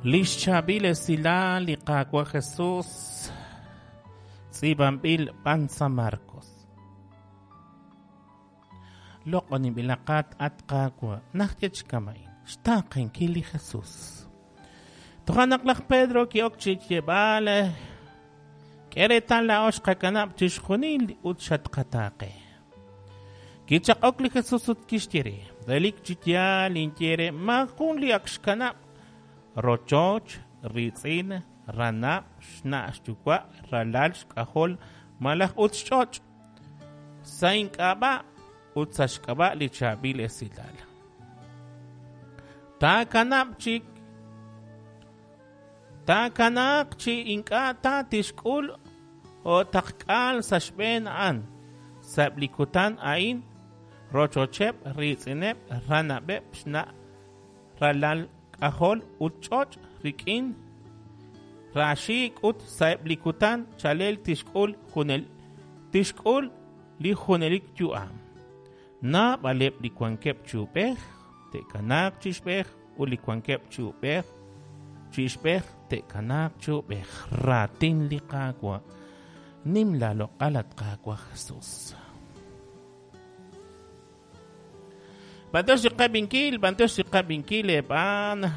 Lix chaab'il esilal li Qaawa' Jesus tz'iib'anb'il b'an sa' Marcos. Loq'oninb'ilaqat at Qaawa' najt chi kama'in xtaaqenkil li Jesus. Toja' naq laj Pedro ki'ok chi xyeeb'al, K'e reetal laa'o xqakanab' chixjunil ut xatqataaqe. Kichaq'ok li Jesus ut kixye re, Relik chi yaal ninye re, maajun li ak xkanab' rochoch, riitz'in, ranab', xna' xyuwa', ralal xk'ajol malaj ut xch'och' sa' ink'ab'a' ut sa' xk'ab'a' li chaab'il esilal. Taakanab' chik Taakanaaq chi ink'a' ta tixk'ul o'taqk'aal sa' xb'een a'an, sa'eb' li kutan a'in, rochocheb', riitz'ineb', ranab'eb', xna', ralal, k'ajol ut ch'och' rik'in raaxiik' ut sa'eb' li kutan chalel tixk'ul tixk'ul li junelik yu'am. Naab'aleb' li wankeb' chi ub'ej te'kanaaq chi ixb'ej ut li wankeb' chi ub'ej chi ixb'ej te'kanaaq chi ub'ej. Raatin li Qaawa'. Nim laaloq'al, at Qaawa' Jesus. B'antiox li qab'inkil, b'antiox li qab'inkil eeb'aan.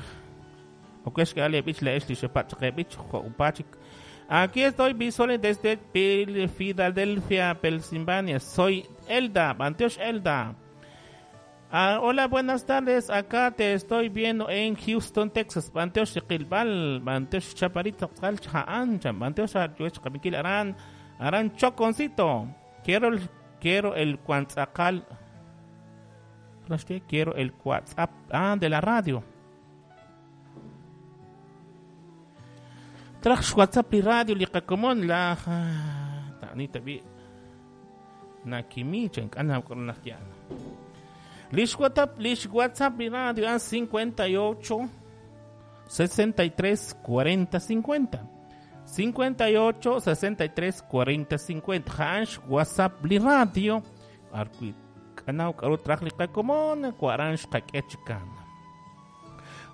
Ok xk'al eeb'ich laa'ex li xepatz' chaq eeb'ich jo' upa chik. Aquí estoy visual desde Philadelphia, Pensilvania. Soy Elda, b'antiox Elda. Ah, hola, buenas tardes. Acá te estoy viendo en Houston, Texas. B'antiox riqilb'al, b'antiox chaparita tz'aqal cha'an, chan b'antiox qab'inkil aran, aran Choconcito. Quiero el, quiero el cuantzakal. Quiero el WhatsApp ah, de la radio. Traj xWhatsApp li radio li qakomon laj ta'ni tab'i nakimi chan k'ana naq yan. Lix WhatsApp, lix WhatsApp li radio ah 58 63 40 50. 58 63 40 50. Ja'an xWhatsApp li radio. Arwi k'anaw k'aru traj li qakomon waran xqak'e chikan.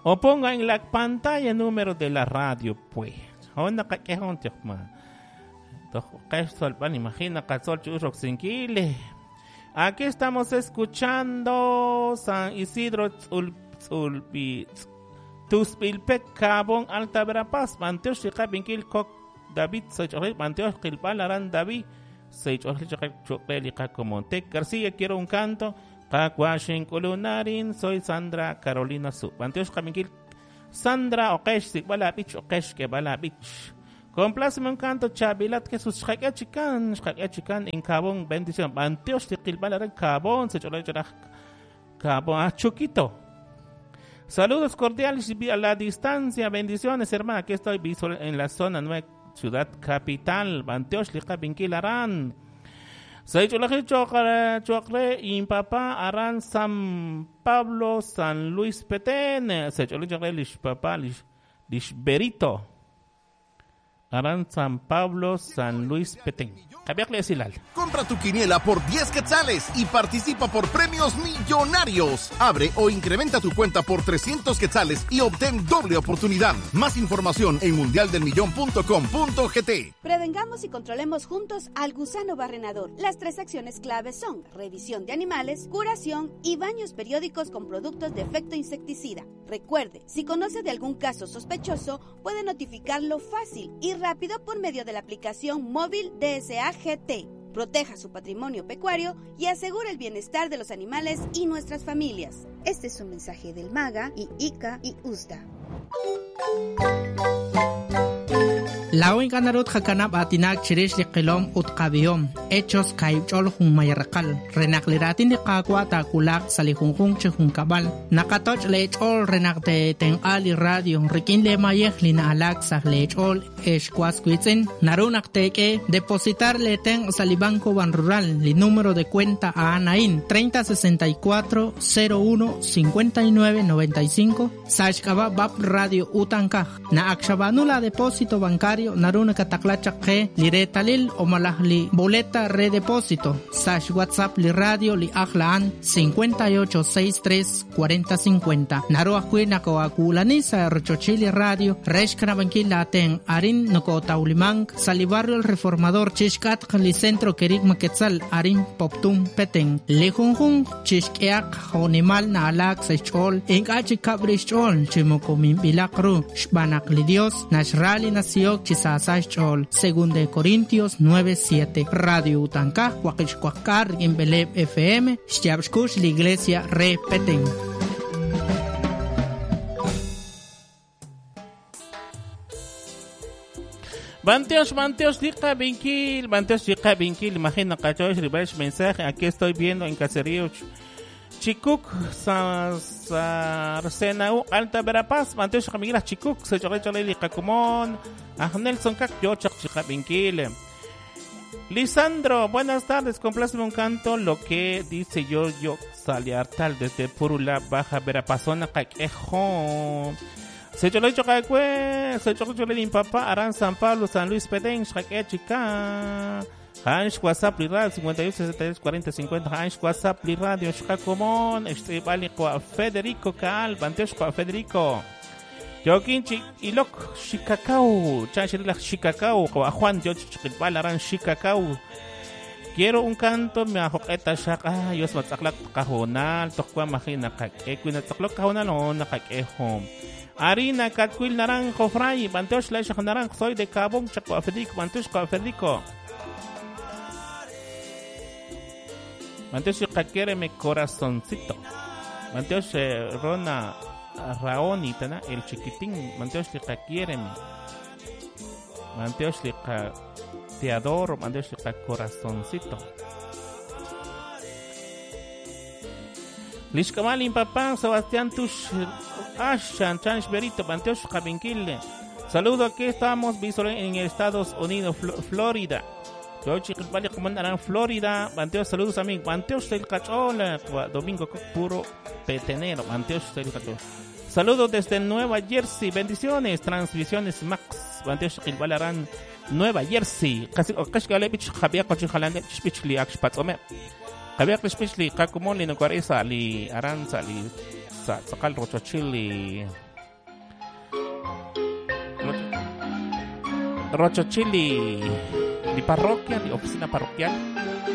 O ponga en la pantalla número de la radio, pues. Hon naqak'e hon tiqma. Toj qex tzolb'al, imagina qatzol chi us roksinkil. Aquí estamos escuchando San Isidro Tzul Tzulbi Tusbilpek Cabón Alta Verapaz B'antiox li qab'inkil Kok David Seych'ojli b'antiox qilb'al aran David Seych'ojli chaqe cho'qe li qakomon Tek García quiero un canto Qaawa' xink'ulunarin soy Sandra Carolina Su b'antiox qab'inkil Sandra oqex xsik'b'al aab'ich oqex xk'eeb'al aab'ich Compláceme un canto chaab'ilat Jesus xqak'e chikan xqak'e chikan en Cabón bendición b'antiox li qilb'al aran Cabón sech'olej ch'olaj Cabón ah Chuquito Saludos cordiales a la distancia bendiciones hermana aquí estoy visual en la zona 9 Ciudad Capital b'antiox li qab'inkil aran Sech'olej cho'q cho'q re inpapa aran San Pablo San Luis Petén sech'olej cho'q re lix papa lix lix Berito aran San Pablo San Luis Petén. Qab'iaq li esilal. Compra tu quiniela por 10 quetzales y participa por premios millonarios. Abre o incrementa tu cuenta por 300 quetzales y obtén doble oportunidad. Más información en mundialdelmillón.com.gt. Prevengamos y controlemos juntos al gusano barrenador. Las tres acciones claves son revisión de animales, curación y baños periódicos con productos de efecto insecticida. Recuerde, si conoce de algún caso sospechoso, puede notificarlo fácil y rápido por medio de la aplicación móvil DSAGT. Proteja su patrimonio pecuario y asegure el bienestar de los animales y nuestras familias. Este es un mensaje del MAGA y ICA y USDA. Laa'o ink'a' naru tqakanab' aatinak chirix li qilom ut qab'ihom, Hechos kaahib' ch'ol junmay raqal, re naq li raatin li Qaawa' taawulaq sa' li junjunq chi junkab'al. Naqatoch' leech'ool re naq teetenq'a li radio rik'in leemayej li na'alaak sa' leech'ool, ex was wiitz'in. Naru naq teek'e depositar leetenq' sa' li Banco Banrural, li número de cuenta a'an a'in, 30 64 01 59 95, sa' xk'ab'a' BAP Radio Utankaj. Naq ak xab'aanu la depósito bancario. bancario naru nakataqla chaq qe li reetalil o malaj li boleta re depósito sa xWhatsApp li radio li ajl a'an 58 63 40 50. Naru ajwi' nakoakuulani sa rochochil li radio re xkanab'ankil laatenq arin nokotawlimank sa li barrio El Reformador chixk'atq li centro Kerigma Quetzal arin Poptún Petén. Li junjunq chixk'ehaq jo'nimal na'alaak sa' xch'ool ink'a' chikab' rix xch'ool chi moko minb'ilaq ru xb'aan naq li Dios naxra li nasihok chi saasa xch'ool. Según de Corintios 9:7. Radio Utankaj waqixwaqk'ar rik'in b'eleeb' FM xyaab' xkux li Iglesia re Petén. Banteos, Banteos, Liqa Binkil, Banteos, Liqa Binkil, imagina, cachosh, ribesh, mensaje, aquí estoy viendo en Caserío Chicuc, Sarcenau, Alta Verapaz, Banteos, Jamiguelas, Chicuc, se chole, chole, Liqa Cumón, Nelson Cac, yo, Chak, Chica Binkil. Lisandro, buenas tardes, compláceme un canto, lo que dice yo, yo, Saliartal, desde Purula, Baja Verapazona, Caquejo. Se chole chocacue, se chole chole papá, Arán San Pablo, San Luis Petén, Xaque Chica. Hansh WhatsApp li radio 58 63 40 50 Hansh WhatsApp li radio Xcacomón, Estibali Federico Kaal, Bantesh Federico. Yokinchi Ilok Xicacao, Chanchirila Xicacao, Juan Yoch Chiquilbal Arán Xicacao. Quiero un canto, me ajoqueta shaka, Dios matzaklak cajonal, tokwa majina kakekuina tzaklok cajonal o nakakejo. Harina Catquil Naranjo Fray, Banteosh Leishaj Naranjo, soy de Cabón, Chaco Federico, Banteosh Federico. Banteosh mi corazoncito. Banteosh Rona Raoni, tana, el chiquitín, Banteosh Lica quiéreme. Banteosh Lica te adoro, Banteosh Lica corazoncito. Lishkamalin papá, Sebastián Tush, Ashan, Chanch Berito, Banteosh Javinquil. Saludo, aquí estamos, en Estados Unidos, Florida. Florida, Banteosh, saludos amigos. Banteosh del Cachola, Domingo puro petenero, Banteosh del Cachola. Saludos desde Nueva Jersey, bendiciones, transmisiones Max, Banteosh Gilbalarán, Nueva Jersey. Casi Okashgalevich, Javier Cochijalane, Spichli, Akshpatzome. Javier Spichli, Kakumoli, Nucuareza, Li Aranza, Li Sacal Rochochili. Rochochili, li parroquia, li oficina parroquial.